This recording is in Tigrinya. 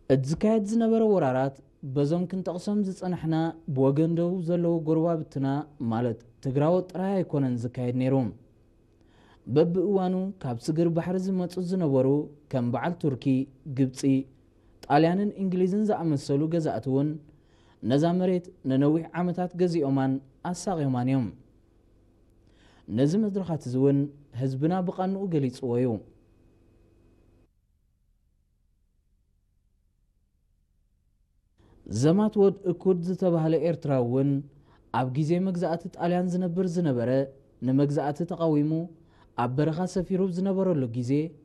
እቲ ዝካየድ ዝነበረ ወራራት በዞም ክንጠቕሶም ዝጸናሕና ብወገን ደቡብ ዘለዉ ጎረባብትና ማለት ትግራዎት ጥራይ ኣይኮነን ዝካየድ ነይሩ። በብእዋኑ ካብ ስግር ባሕሪ ዝመጹ ዝነበሩ ከም በዓል ቱርኪ፣ ግብጺ፣ ጣልያንን እንግሊዝን ዝኣመሰሉ ገዛእቲ እውን ነዛ መሬት ንነዊሕ ዓመታት ገዚኦማን ኣሳቕዮማን እዮም። ነዚ መድረኻት እዚ እውን ህዝብና ብቓንኡ ገሊጽዎ እዩ። ዘማት ወድ እኩድ ዝተባህለ ኤርትራዊ እውን ኣብ ግዜ መግዛእቲ ጣልያን ዝነብር ዝነበረ፣ ንመግዛእቲ ተቓዊሙ ኣብ በረኻ ሰፊሩ ዝነበረሉ ግዜ